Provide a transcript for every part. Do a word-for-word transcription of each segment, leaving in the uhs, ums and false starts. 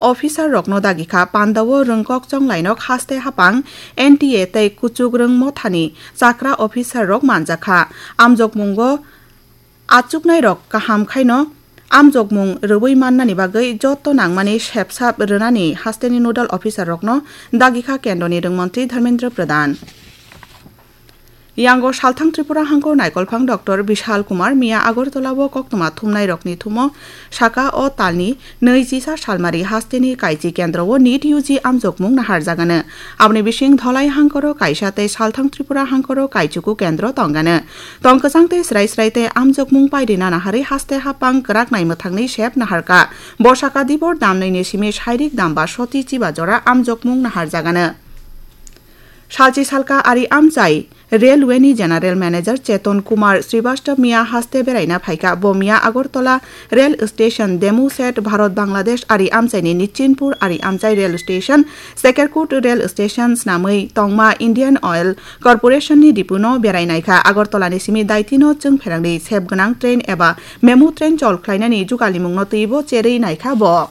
officer rokno dagi kha. Pandao rwngkok chonglainok haste hapang N T A tei kuchuk rwng mothani chakra officer rok manjak kha. Amjokmungo achuknairok kaham khaino amjokmung rwui mannani bagwi joto nangmani sepsap rwnani hasteni nodal officer rokno dagi kha kendroni rwngmontri Dharmendra Pradhan. Yango salthang Tripura hangkor naikolphang Doctor Bishal Kumar miya Agartala o koktwma thumnairokni thumo saka o talni nwi chisa salmari hasteni kaichi kendro o nit U G amjokmung naharjagano. Aboni bising Dholai hangkoro kaisa tei salthang Tripura hangkoro kaichuku kendro tongano. Tong kwchang tei srai srai tei amjokmung pairina naharwi haste hapang kwrak nai mwthangni sep naharka. Bo saka dibor damnwini simi sairik damba soti chiba jora amjokmung naharjagano. Salchi salka ari amchai Railway ni General Manager Cheton Kumar Srivastava miya haste beraina phaikha. Bo miya Agartala Rail Station Demu Set Bharat Bangladesh ari amchaini Nichinpur ari amchai Rail Station, Sekerkut Rail Station snamwi tongma Indian Oil Corporation ni dipuno berai naikha. Agartala ni simi Daitino chwng pherangni sep gwnang train eba memo train chol khlainani jugalimungno twibo cherwi naikha bo.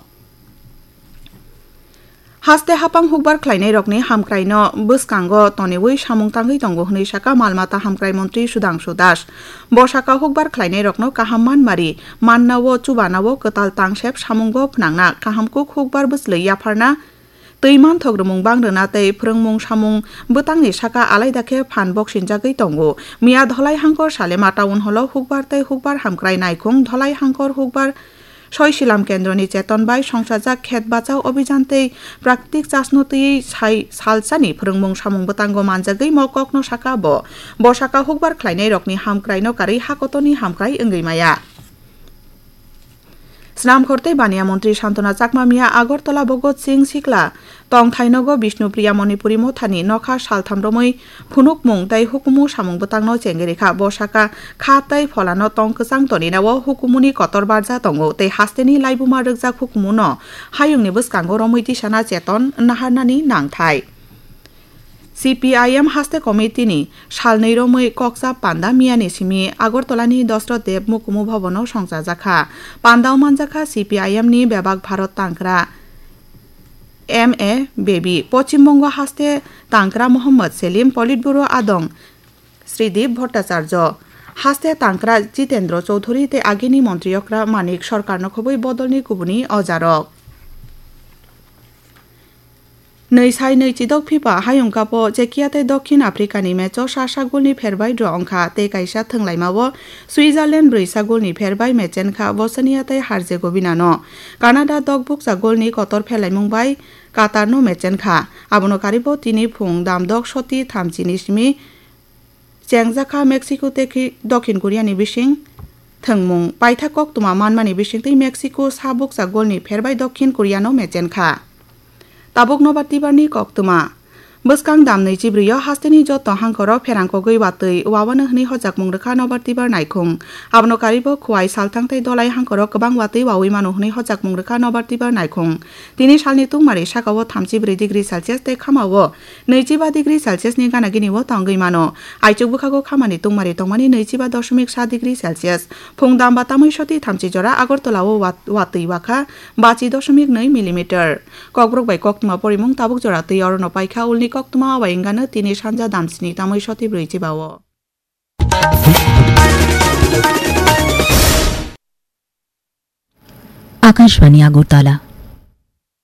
Haste hapang hukbar khlainairokni hamkraino bwskango toniwi samung tangwi tongo hwnwi saka mal mata hamkrai montri Sudhangshu Das. Bo saka hukbar khlainairokno kaham manmari mannao chubanao kwtal tangsep samungo phnangna kahamkuk hukbar bwchlwi yapharna twi manthok rwmung bang rwna tei phrwngmung samung bwtangni saka alaida khe phan boksinjagwi tongo. Miya Dholai hangkor Salema Town Hall o hukbar tei hukbar hamkrai naikhung Dholai hangkor hukbar Soi Silam Kendroni cheton bai songsajak Khet Bachao Obhijan tei Praktik Chasno twiwi sai salsani phrwngmung samung bwtango manjagwi mo kokno saka bo. Bo saka hukbar khlainairokni hamkraino karwi hakotoni hamkrai wngwi maya. Snamkhor tei Baniya Montri Santona Chakma miya Agartala Bhagat Singh Sikla tongthai nogo Bishnupriya Manipuri mothani nokha saltham romwi phunukmung tei hukumu samung bwtangno chengwi rikha. Bo saka kha tei pholano tong kwchang toninao hukumuni kotor barja tongo tei hasteni laibuma rwkjak hukumuno hayungni bwskango romwi tisana cheton naharnani nangthai. C P I M haste committee ni salnwi romwi kokcha panda miyani simi Agartala ni Dasrath Dev Mukumu Bhavan o songchajakha. Panda o manjakha C P I M ni bebak Bharat tangkra M A Baby, Poschim Bongo haste tangkra Mohammad Selim, Politburo adong Sridip Bhattacharya, haste tangkra Jitendra Chowdhury tei agini montri okra Manik Sarkar no khobwi bodolni kubuni ojarok. Nwi sai nwi chidok FIFA Hayung Cup o Czechia tei Dokhin Africa ni match o sa sa goal ni pher bai draw wngkha tei kaisa thwnglaima o Switzerland brwi sa goal ni pher bai mechenkha Bosnia tei Herzegovina no. Canada dok bukcha goal ni kotor phelaimung bai Qatar no mechenkha. Abono karibo tini phung dam dok soti thamchi ni simi chengjakha Mexico tei Dokhin Korea ni bising thwngmung. Paithak koktwma manmani bisingtwi Mexico sa bukcha goal ni pher bai Dokhin Korea no mechenkha. Tabuk nobar tibar ni koktwma. Bwskang dam nwi chibrwi o hasteni joto hangkoro pherang kogwi watwi wawano hwnwi hojakmung rwkha nobar tibar naikhung. Abono karibo Khowai, Salthang tei Dholai hangkoro kwbang watwi wawi mano hwnwi hojakmung rwkha nobar tibar naikhung. Tini salni tungmari sakao thamchi brwi degree Celsius tei khamao nwi chiba degree Celsius ni gana gini o tongwi mano. Aichuk bwkhago khamani tungmari tongmani nwi chiba doshomik sa degree Celsius. Phung dam ba tamwi soti thamchi jora Agartala o wat-, watwi wakha bachi doshomik nwi millimeter. Kokborok bai koktwma porimung tabuk jora twi orono paikha ulni koktwma o bai wngano tini sanja dam sni tamwi soti brwi chiba o. Akashbani Agartala.